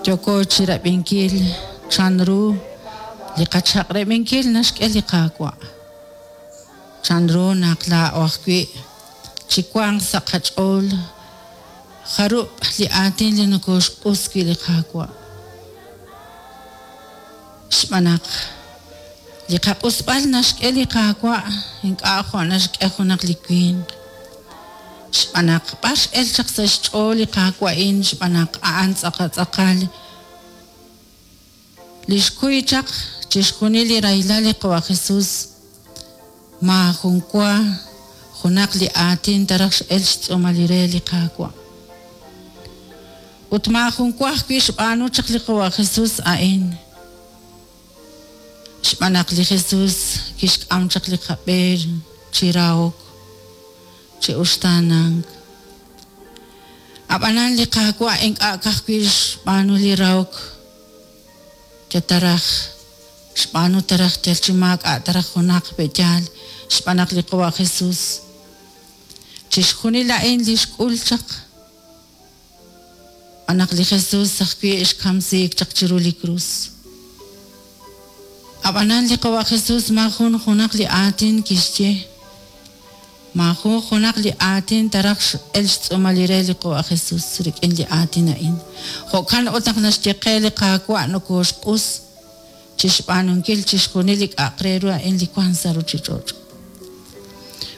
Yooko chirab'inkil chanru li qachaq'rab'inkil naxk'e li Qaawa'. Chanru naq laa'o ajwi' chiwanq sa' qach'ool jarub' li aatin li nokoxq'us wi' li Qaawa'. Xb'aan naq li qaq'usb'al naxk'e li Qaawa' ink'a' jo' naxk'e junaq li winq. Xb'aan naq b'ar x'el chaq sa' xch'ool li Qaawa' a'in xb'aan naq a'an tz'aqal li xkuy chaq chixjunil li rahilal li Qawa' Jesus maajun wa junaq li aatin taraj x'el xtz'uumal li re li Qaawa'. Ut maajun wa ajwi' xb'aanu chaq li Qawa' Jesus a'in. Xb'aan naq li Jesus kixk'am chaq li qab'e chi rahok, chi uxtaanank. Ab'anan li Qaawa' ink'a' ka'ajwi' xb'aanu li rahok yal taraj xb'aanu taraj yal chi maak'a' taraj junaq pe'yaal xb'aan naq li Qawa' Jesus chixjunil a'in li xk'ul chaq xb'aan naq li Jesus ajwi' xkamsiik chaq chiru li krus. Ab'anan li Qawa' Jesus maajun junaq li aatin kixye, maajun junaq li aatin taraj x'el xtz'uumal li re li Qawa' Jesus rik'in li aatin a'in. Jo'kan ut naq naxye qe li Qaawa' nokooxq'us chi xb'aanunkil chixjunil li k'a'aq re ru a'in li wank sa' ruuchich'och'.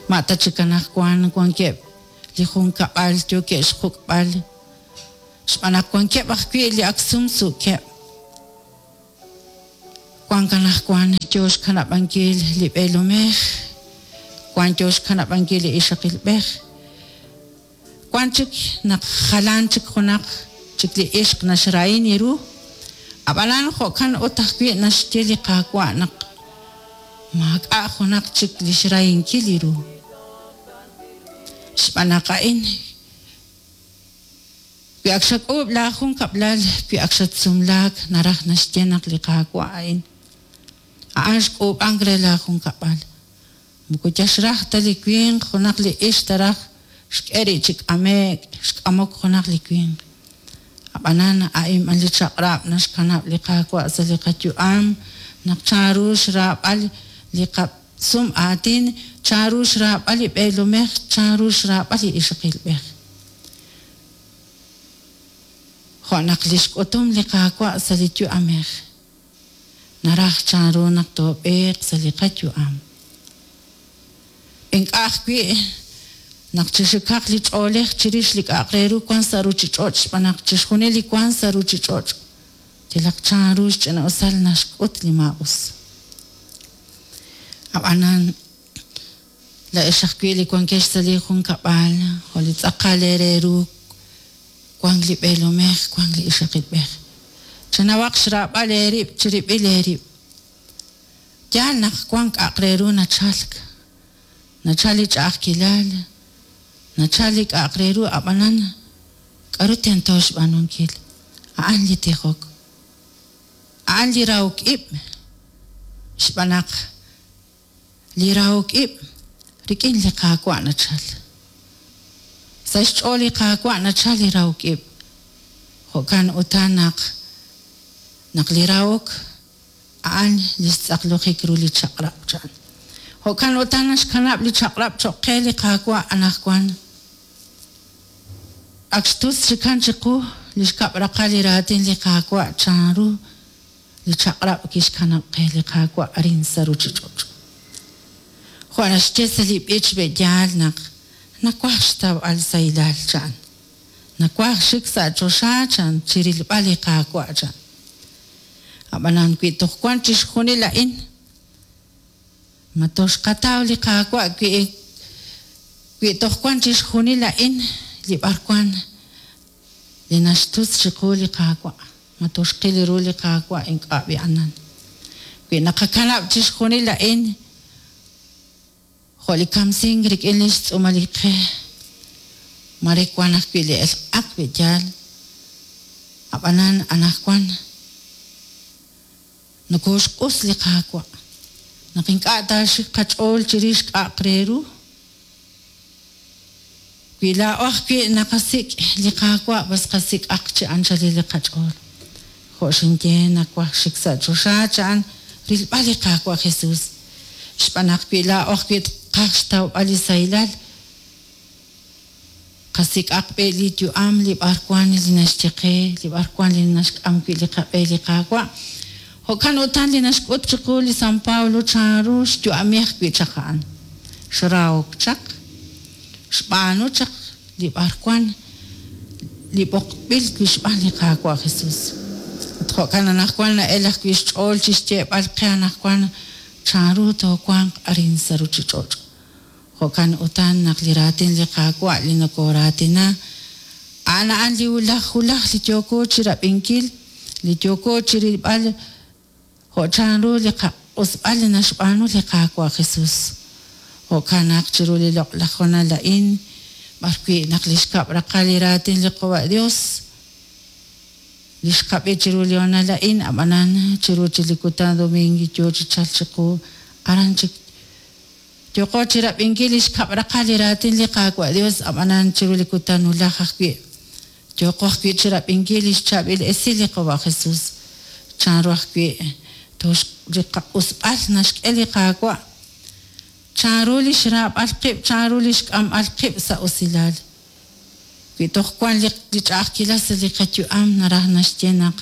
Ma ta chik anaqwan wankeb' li junkab'al yookeb' xjuk'b'al xb'aan naq wankeb' ajwi' li ak sumsuukeb'. Wank anaqwan yo xkanab'ankil li b'eelomej, wank yo xkanab'ankil li ixaqilb'ej, wank chik naq jalan chik junaq chik li ixq naxrahin ru. Ab'anan jo'kan ut ajwi' naxye li Qaawa' naq maak'a' junaq chik li xrahinkil ru. Xb'aan naq a'in wi ak xak'uub' laajunkab'lal, wi ak xatsumlaak, naraj naxye naq li Qaawa' a'in a'an xk'uub'ank re laajunkab'al. Moko yal xraj ta li winq junaq li ixq taraj xk'e rib' chi k'ame'k xk'amok junaq li winq. Ab'anan a'in b'an li chaq'rab' naxkanab' li Qaawa' sa' li qayu'am naq chanru xraab'al li qasum aatin, chanru xraab'al li b'eelomej, chanru xraab'al li ixaqilb'ej. Jo' naq li xk'utum li Qaawa' sa' li yu'amej naraj chanru naq toob'eeq sa' li qayu'am. Ink'a' ajwi' naq chixikaq li ch'oolej chirix li k'a'aq re ru wank sa' ruuchich'och' xb'aan naq chixjunil li wank sa' ruuchich'och' yalaq chanru xch'ina'usal naxk'ut li maa'us. Ab'anan laa'ex ajwi' li wankex sa' li junkab'al jo' li tz'aqal eere ru wank li b'eelomej, wank li ixaqilb'ej. Chenawaq xraab'al eerib' chirib'il eerib'. Yaal naq wank k'a'aq re ru nachalk, nachalk li ch'a'ajkilal, nachalk li k'a'aq re ru, ab'anan k'aru tento xb'aanunkil? A'an li tijok, a'an li rahok ib' xb'aan naq li rahok ib' rik'in li Qaawa' nachalk. Sa' xch'ool li Qaawa' nachalk li rahok ib'. Jo'kan utan naq naq li rahok a'an li xtz'aqlojik ru li chaq'rab' chan. Jo'kan utan naxkanab' li chaq'rab' cho'q qe li Qaawa' anaqwan. Ak xtus chikan chiqu li xkab' raqal li raatin li Qaawa' chanru li chaq'rab' kixkanab' qe li Qaawa' arin sa' ruuchich'och'. Jo' naxye sa' li b'ich be'yaal naq nawaj xtawb'al sahilal chan. Nawaj xik sa' choxa chan chi rilb'al li Qaawa' chan. Ab'anan wi toj wank chixjunil a'in, ma toxqataw li Qaawa' wi wi toj wank chixjunil a'in li b'arwan li naxtutz chiqu li Qaawa', ma toxqil ru li Qaawa' ink'a' b'i'anan. Wi naqakanab' chixjunil a'in jo' li kamsink rik'in li xtz'uumal li qe, mare wank ajwi' li elq'ak be'yaal, ab'anan anaqwan nokooxq'us li Qaawa' naq ink'a' taaxik qach'ool chirix k'a'aq re ru. Wi laa'o ajwi' naqasik' li Qaawa' b'as qasik'aq chi anchalil li qach'ool. Jo' xinye nawaj xik sa' choxa cha'an rilb'al li Qaawa' Jesus. Xb'aan naq wi laa'o ajwi' tqaj xtawb'al li sahilal, qasik'aq b'i' li yu'am li b'arwan li naxye qe, li b'arwan li naxk'am wi' li qab'e li Qaawa'. Jo'kan utan li naxk'ut chiqu li San Pablo chanru xyu'ami ajwi' chaq a'an. Xrahok chaq, xb'aanu chaq li b'arwan li b'oqb'il wi' xb'aan li Qaawa' Jesus. Ut jo'kan anaqwan na'el ajwi' xch'ool chi xyeeb'al qe anaqwan chanru toowanq arin sa' ruuchich'och'. Jo'kan utan naq li raatin li Qaawa' li nokooraatina, a'an a'an li wulaj wulaj li yooko chi rab'inkil, li yooko chi rilb'al jo' chanru li qaq'usb'al li naxb'aanu li Qaawa' Jesus. Jo'kan naq chiru li loq'laj honal a'in, b'arwi' naq li xkab' raqal li raatin li Qawa' Dios, li xqab'i chiru li honal a'in, ab'anan chiru chi li kutan domingo yo chi chalk chiqu, aran chik yooqo chi rab'inkil li xkab' raqal li raatin li Qaawa' Dios, ab'anan chiru li kutan wulaj ajwi' yooqo ajwi' chi rab'inkil li xchaab'il esil li Qawa' Jesus. Chanru ajwi' li qaq'usb'al naxk'e li Qaawa', chanru li xraab'al qib', chanru li xk'amb'al qib' sa' usilal. Wi toj wank li ch'a'ajkilal sa' li qayu'am naraj naxye naq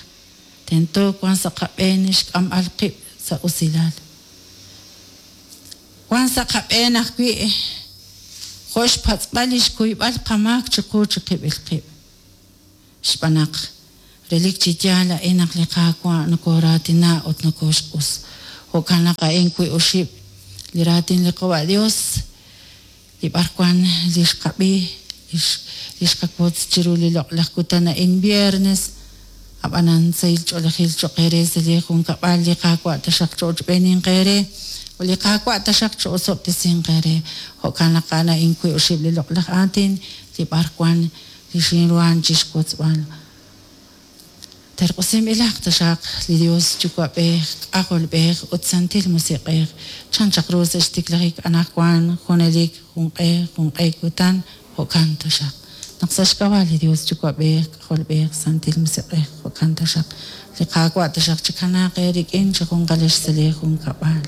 tento wank sa' qab'een xk'amb'al qib' sa' usilal. Wank sa' qab'een ajwi' jo' xpatz'b'al li xkuyb'al qamaak chiqu chiqib'il qib'. Xb'aan naq relik chi yaal a'in naq li Qaawa' nokooraatina ut nokooxq'us. Jo'kan naq a'in wi' oxib' li raatin li Qawa' Dios li b'arwan li xqab'i, li xqawotz chiru li loq'laj kutan a'in viernes, ab'anan sahil ch'oolejil cho'q eere sa' li junkab'al li Qaawa' taxaq cho'ochb'eeninq eere ut li Qaawa' taxaq cho'osob'tesinq eere. Jo'kan naq a'an a'in wi' oxib' li loq'laj aatin li b'arwan li xinruhan chi xwotzb'al. Terq'usinb'ilaq taxaq li Dios Yuwa'b'ej, K'ajolb'ej ut Santil Musiq'ej, chan chaq ru sa' xtiklajik anaqwan junelik junq'e junq'e kutan, jo'kan taxaq. Naq sa' xk'ab'a' li Dios Yuwa'b'ej, K'ajolb'ej, Santil Musiq'ej, jo'kan taxaq. Li Qaawa' taxaq chikanaaq eerik'in chi junqalex sa' lee junkab'al.